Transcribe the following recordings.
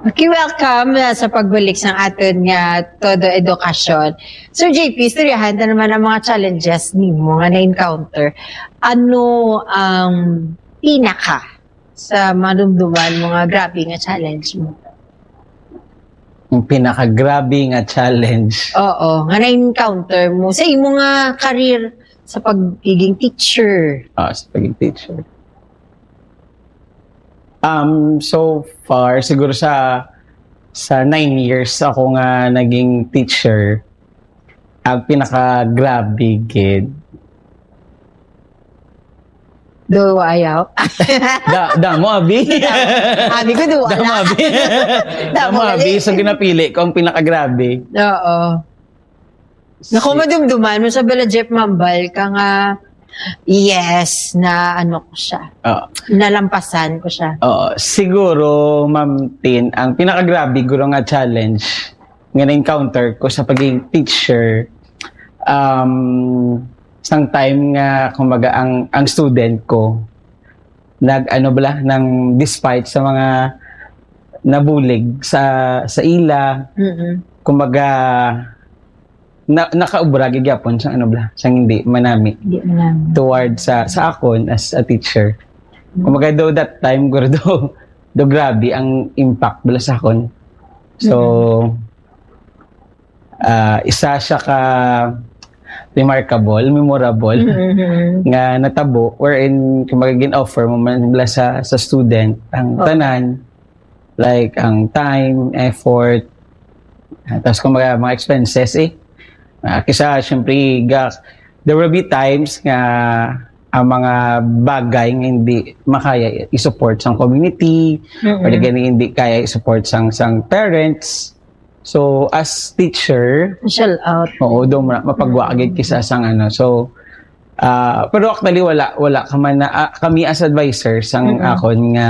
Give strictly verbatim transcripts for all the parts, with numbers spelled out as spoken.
Okay, welcome, uh, sa pagbalik sa aton nga Todo Edukasyon. So, J P, istoryahan ta naman ang mga challenges nimo nga na-encounter. Ano ang pinaka sa madumduman mo nga grabe nga challenge mo? Ang pinakagrabe nga challenge. Oo, nga na-encounter mo sa imo nga career sa pagiging teacher. Ah, sa pagiging teacher. Um, so far, siguro sa sa nine years ako nga naging teacher, ang pinakagrabe gid. Do ayaw. Da, damo abi. Abi ko do Damo wala. abi. Damo Damo abi. gali. So ginapili ko ang pinakagrabe. Oo. Naku, madumduman mo sa bala, Jeff, mambal ka nga, yes, na ano ko siya. Ah, Nalampasan ko siya. Oo, siguro, Ma'am Tin, ang pinakagrabe guro nga challenge nga na-encounter ko sa pagiging teacher, um, sang time nga, kumbaga, ang, ang student ko, nag, ano bala, nang despite sa mga nabulig sa, sa ila, Mm-mm. kumbaga, na, nakaubra gid gyapon sa ano bala, sang hindi manami Di man. toward sa sa akon as a teacher. Kumbaga, do that time, guro, do, do grabe ang impact bala sa akon. So, ah, isa siya ka remarkable, memorable Mm-hmm. nga natabo, wherein, kumbaga, gin-offer mo man bala sa, sa student ang Oh. tanan, like ang time, effort, ah, tapos, kumbaga, mga expenses eh. Ah, kisa, syempre, ga, there will be times nga ang mga bagay nga hindi makaya i-support sang community, Mm-mm. or di gani hindi kaya i-support sang, sang parents. So, as teacher, Shell out. oo, do mo na, mapagwa gid kisa sang ano. So, ah, pero actually, wala, wala ka man na, ah, kami as advisor sang Mm-mm. akon nga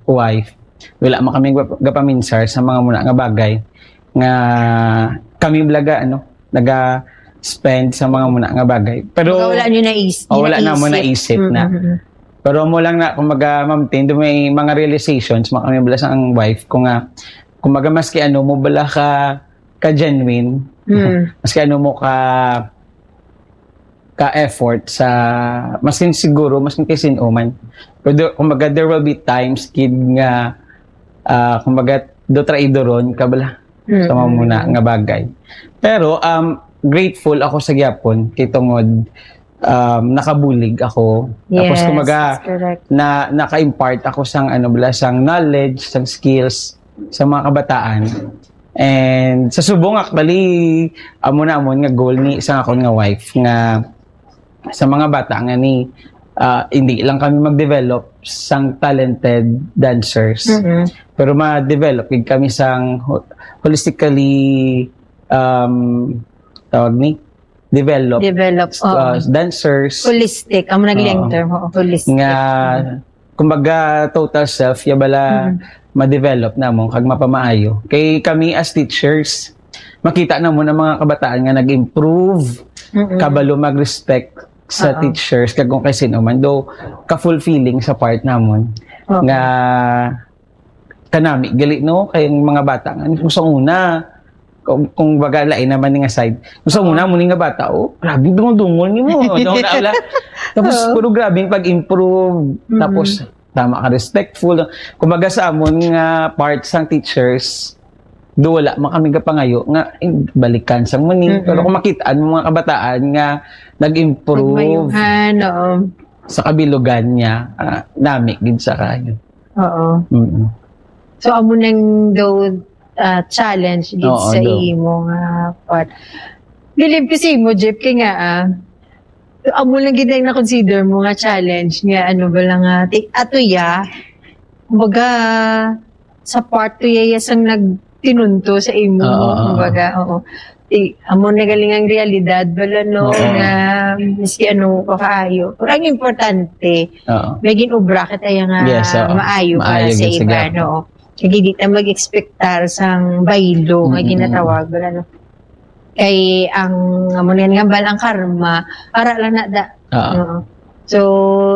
wife, wala man kami gap-, gapaminsar sa mga muna nga bagay nga kami bala ga, ano, naga-spend sa mga muna nga bagay. Pero Wala nyo naisip. Oh, wala na mo naisip na. Mm-mm. Pero mo lang na, kumbaga, Ma'am Tin, do may mga realizations, mga kami bala sa ang wife ko nga, kumbaga, maski ano mo bala ka, ka genuine, Mm. maski ano mo ka, ka effort sa, maski siguro, maski kay sin-o man. Pero, do, kumbaga, there will be times, kid, nga, ah, kumbaga, do traidoron ka bala Mm. sa mga muna nga bagay. Pero, um, grateful ako sa gyapon kay tungod, um, nakabulig ako. Tapos, Yes, kumbaga, that's correct. na naka-impart ako sang, ano bala, sang knowledge, sang skills sa mga kabataan. And sa subong, actually, amo na amon nga goal ni sa akon nga wife nga sa mga bata nga ni, ah, hindi lang kami mag-develop sang talented dancers, Mm-mm. pero ma-develop gid kami sang ho-, holistically, um, tawag ni, develop, Develop. Oo. uh, dancers. Holistic. Amo na gali ang Oo. term. Oo, holistic. Nga, kumbaga, total self, ya bala, Mm. ma-develop namon kag mapamaayo. Kay kami as teachers, makita namon ang mga kabataan nga nag-improve, Mm-mm. kabalo mag-respect sa Oo. teachers, kag kung kay sino man. Though, ka-fulfilling sa part namon. Oo. Nga, kanami, gali, no? Kay ang mga bata, nga, kung sa una, kung, kung baga, lain naman nga side. Kung sa una, mo ni nga bata, oh, grabe, dungol-dungol ni mo. Ano na, wala. Tapos, Oo. Puro grabe yung pag-improve. Mm. Tapos, tama ka, respectful. Kumbaga sa amon nga part sang teachers, do wala man kami kapangayo nga, eh, balikan sa mo ni. Mm-mm. Pero kung makita mo mga kabataan nga nag-improve Pagmayuhan, oo. sa kabilugan niya, ah, nami gid sa kayo. Oo. Mm. So, amo nang daw, ah, challenge gid Oo, sa daw. Imo nga part. Bilib ko sa imo, Jeff, kay nga, ah, amo lang gid ang na-consider mo nga challenge nga, ano ba lang, ah, ti-, ato ya, kumbaga, sa part to ya, ya sang nagtinunto sa imo, Oo, oo. Kumbaga, oo. Ti-, amo na galing ang realidad, bala, no, Oo. Nga, miski ano pa kaayo. Pero ang importante, Oo. may ginobra kita ya nga Yes, oo. maayo para Maayo sa gyud sa iba, gihapon. no? Kaya hindi ta mag-expectar sang baylo nga Mm-mm. ginatawag, bala, no? Kay ang, amo na nga, bala, ang karma, para lang na da. Oo. Oo. So,